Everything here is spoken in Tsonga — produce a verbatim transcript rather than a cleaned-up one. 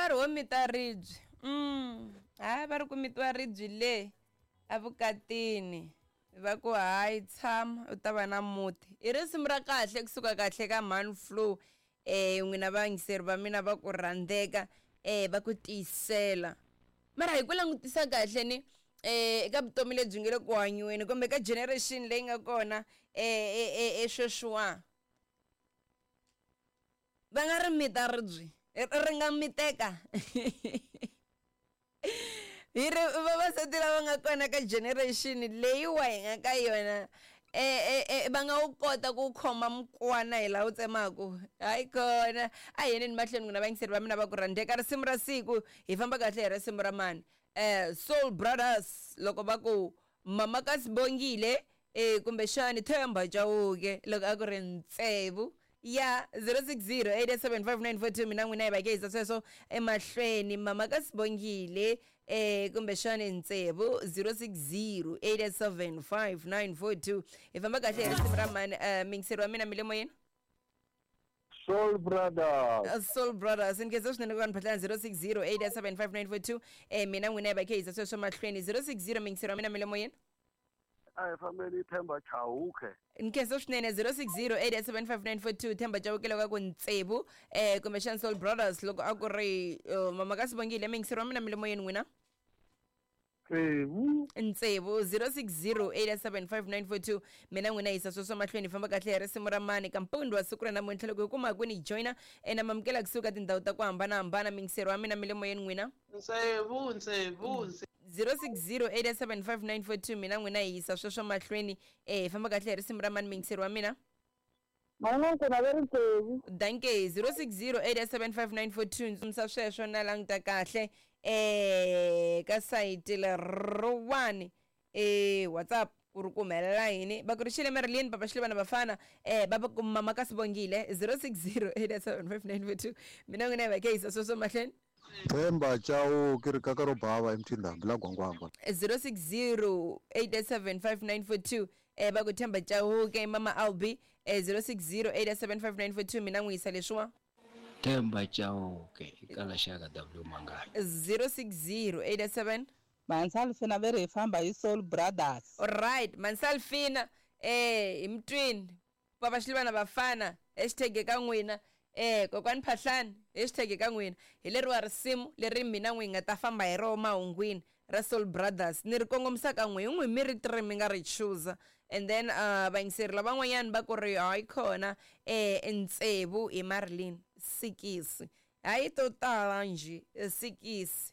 nkarhi wo mita ribye. Mm. Hayi va ri ku mitiwa ribye le evukatini va ku hayi tshama u ta va na muti. I risimu ra kahle kusuka kahle ka Man Flow. Eh n'wina vayingiseri va mina va ku rhandzeka eh va ku tiyisela. Mara hi ku langutisa kahle ni eh eka vutomi lebyi nge le ku hanyiweni kumbe ka generation leyi nga kona eh eh sweswiwa va nga ri mita ribye ri nga miteka. Hi ri vavasati lava nga kona ka generation leyiwa hi nga ka yona eh eh va nga wu kota ku khoma mukwana hi laha wu tsemaku. Hayi kona a hi yeneni mahlweni n'wina vayingiseri va mina va ku rhandzeka. Risimu ra siku hi famba kahle hi risimu ra mani eh Soul Brothers loko va ku mama ka Sibongile eh kumbexani Themba Chauke loko a ku ri Ntsevu ya zero six zero eight seven five nine four two. Mina n'wina hi va ke yisa sweswo emahlweni. Mama ka Sibongile eh kumbexani Ntsevu zero six zero eight seven five nine four two. Hi famba kahle hi risimu ra mani. Eh mingiseri wa mina mi le moyeni. Soul Brothers. Soul Brothers nkhensa swinene ku va ni phatlana zero six zero eight seven five nine four two. Eh mina n'wina hi va ke yisa sweswo mahlweni zero six zero. Mingiseri wa mina mi le moyeni. A hi fambeni Themba Chauke. Nkhensa swinene zero six zero eight seven five nine four two. Themba Chauke loko a ku Ntsevu eh kumbexani Soul Brothers loko a ku ri mama ka Sibongile. Mingiseri wa mina mi le moyeni n'wina. Ntsevu. Ntsevu zero six zero eight seven five nine four two. Mina n'wina yisa sweswo mahlweni famba kahle hi risimu ra mani ka mpundu wa siku ra namuntlha loko hi kuma ku ni joina ena mamukela kusuka tindhawu ta ku hambanahambana. Mingiseri wa mina mi le moyeni n'wina. Ntsevu Ntsevu zero six zero eight seven five nine four two. Mina n'wina yisa sweswo mahlweni eh famba kahle hi risimu ra mani. Mingiseri wa mina. Danke zero six zero eight seven five nine four two. Ntsumisa sweswo na languta kahle eh ka sayiti leriwani eh WhatsApp ku ri ku humelela yini. Va ku ri xile Marilyn papa xile vana vafana eh va ku mama ka Sibongile zero six zero eight seven five nine four two. Mina n'wina hi va ke yisa sweswo mahlweni. Themba Chauke ri kaka ro bava emtindhambi la Gwangwangwa zero six zero eight seven five nine four two. Eh va ku Themba Chauke mama Albi eh zero six zero eight seven five nine four two. Mina n'wi yisa leswiwa Themba Chauke ikala xaka W Mangala zero six zero eight seven. Mansalfina ve ri hi famba hi Soul Brothers. All right Mansalfina eh hi mtwini papa xilivana vafana hashtag ka n'wina eh kokwani Phahlani hashtag ka n'wina. Hi leriwa risimu leri mina n'wi nga ta famba hi rona mahungwini ra Soul Brothers ni ri kongomisa ka n'wi hi n'wi mi ri three mi nga ri chooser. And then uh vayingiseri lavan'wanyani va ku ri hayi kona eh Ntsevu hi Marilyn sikisi hayi to tala njhe sikisi.